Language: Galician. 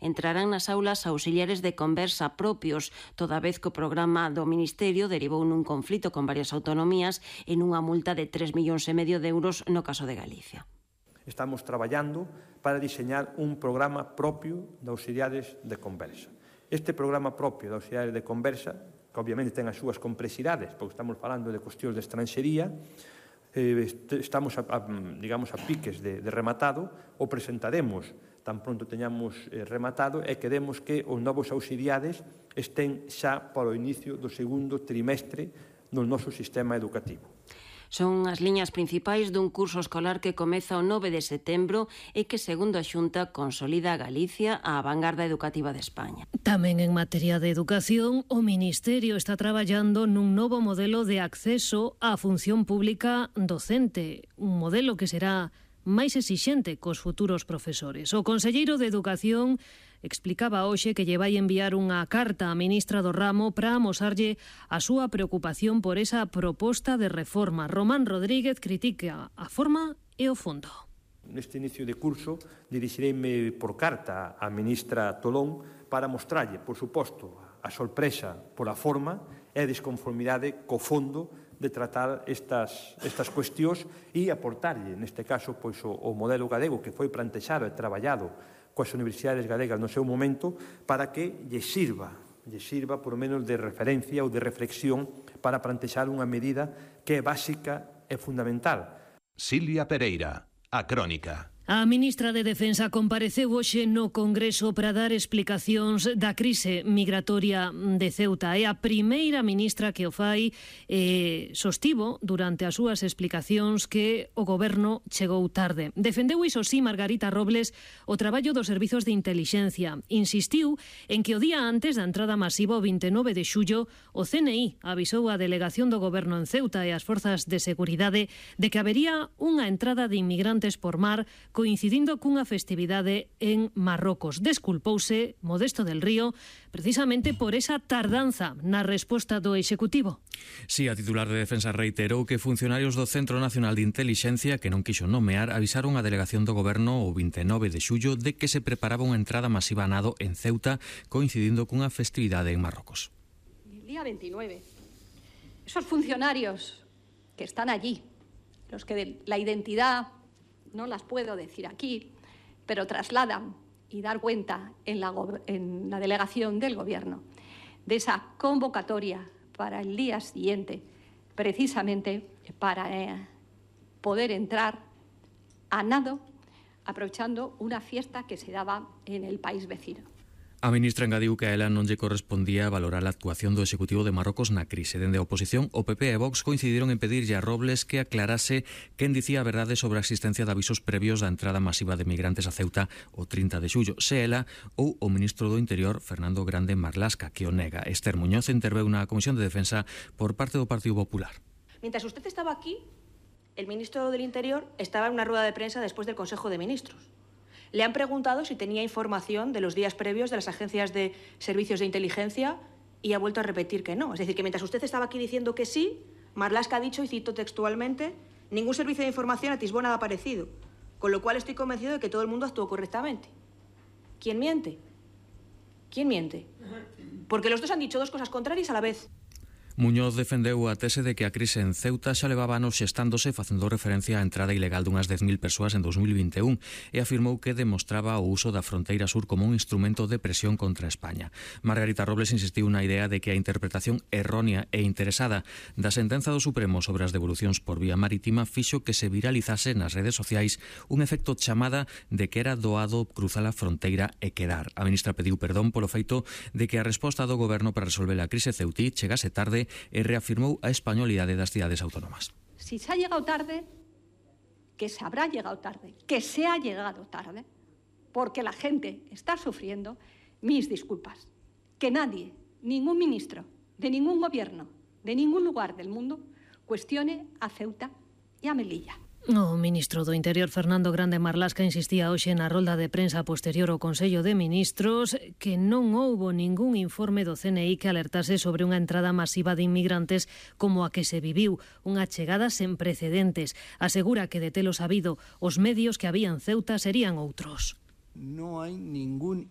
entrarán nas aulas auxiliares de conversa propios, toda vez que o programa do Ministerio derivou nun conflito con varias autonomías e nunha multa de 3,5 millóns de euros no caso de Galicia. Estamos traballando para diseñar un programa propio de auxiliares de conversa. Este programa propio de auxiliares de conversa, que obviamente ten as súas complexidades, porque estamos falando de cuestións de estranxería, estamos digamos a piques de rematado, o presentaremos tan pronto teñamos rematado e queremos que os novos auxiliares estén xa para o inicio do segundo trimestre no noso sistema educativo. Son as liñas principais dun curso escolar que comeza o 9 de setembro e que, segundo a Xunta, consolida a Galicia a vanguarda educativa de España. Tamén en materia de educación, o Ministerio está traballando nun novo modelo de acceso á función pública docente, un modelo que será máis exixente cos futuros profesores. O conselleiro de Educación explicaba hoxe que lle vai enviar unha carta á ministra do ramo para amosarlle a súa preocupación por esa proposta de reforma. Román Rodríguez critica a forma e o fondo. Neste inicio de curso dirixireime por carta á ministra Tolón para mostrarlle, por suposto, a sorpresa pola forma e a desconformidade co fondo de tratar estas cuestións e aportarlle, neste caso, pois, o modelo galego que foi plantexado e traballado coas universidades galegas no seu momento para que lle sirva por menos de referencia ou de reflexión para plantexar unha medida que é básica e fundamental. Silvia Pereira, A Crónica. A ministra de Defensa compareceu hoxe no Congreso para dar explicacións da crise migratoria de Ceuta. É a primeira ministra que o fai e sostivo durante as súas explicacións que o Goberno chegou tarde. Defendeu iso sí Margarita Robles o traballo dos servizos de intelixencia. Insistiu en que o día antes da entrada masiva o 29 de xullo o CNI avisou a delegación do Goberno en Ceuta e as forzas de seguridade de que habería unha entrada de inmigrantes por mar coincidindo cunha festividade en Marrocos. Desculpouse Modesto del Río precisamente por esa tardanza na resposta do Executivo. Si, a titular de Defensa reiterou que funcionarios do Centro Nacional de Intelixencia que non quixo nomear avisaron a delegación do Goberno o 29 de xullo de que se preparaba unha entrada masiva a nado en Ceuta coincidindo cunha festividade en Marrocos. El día 29, esos funcionarios que están allí, los que la identidad no las puedo decir aquí, pero trasladan y dar cuenta en la delegación del Gobierno de esa convocatoria para el día siguiente, precisamente para poder entrar a nado, aprovechando una fiesta que se daba en el país vecino. A ministra engadiu que a ela non lle correspondía valorar a actuación do Executivo de Marrocos na crise. Dende a oposición, o PP e Vox coincidiron en pedirlle a Robles que aclarase quen dicía a verdade sobre a existencia de avisos previos da entrada masiva de migrantes a Ceuta o 30 de xullo, se ela ou o ministro do Interior, Fernando Grande Marlasca, que o nega. Esther Muñoz interveu na Comisión de Defensa por parte do Partido Popular. Mientras usted estaba aquí, el ministro del Interior estaba en una rueda de prensa después del Consejo de Ministros. Le han preguntado si tenía información de los días previos de las agencias de servicios de inteligencia y ha vuelto a repetir que no. Es decir, que mientras usted estaba aquí diciendo que sí, Marlaska ha dicho, y cito textualmente, ningún servicio de información atisbó nada parecido. Con lo cual estoy convencido de que todo el mundo actuó correctamente. ¿Quién miente? ¿Quién miente? Porque los dos han dicho dos cosas contrarias a la vez. Muñoz defendeu a tese de que a crise en Ceuta xa levaba anos xestándose facendo referencia á entrada ilegal dunhas 10.000 persoas en 2021 e afirmou que demostraba o uso da fronteira sur como un instrumento de presión contra España. Margarita Robles insistiu na idea de que a interpretación errónea e interesada da sentenza do Supremo sobre as devolucións por vía marítima fixo que se viralizase nas redes sociais un efecto chamada de que era doado cruzar a fronteira e quedar. A ministra pediu perdón polo feito de que a resposta do Goberno para resolver a crise ceutí chegase tarde e reafirmou a españolidade das cidades autónomas. Si se ha llegado tarde, que se habrá llegado tarde, que se ha llegado tarde, porque la gente está sufriendo, mis disculpas. Que nadie, ningún ministro, de ningún gobierno, de ningún lugar del mundo, cuestione a Ceuta e a Melilla. O ministro do Interior, Fernando Grande Marlasca, insistía hoxe na rolda de prensa posterior ao Consello de Ministros que non houbo ningún informe do CNI que alertase sobre unha entrada masiva de inmigrantes como a que se viviu, unha chegada sen precedentes. Asegura que de telo sabido, os medios que había en Ceuta serían outros. No hai ningún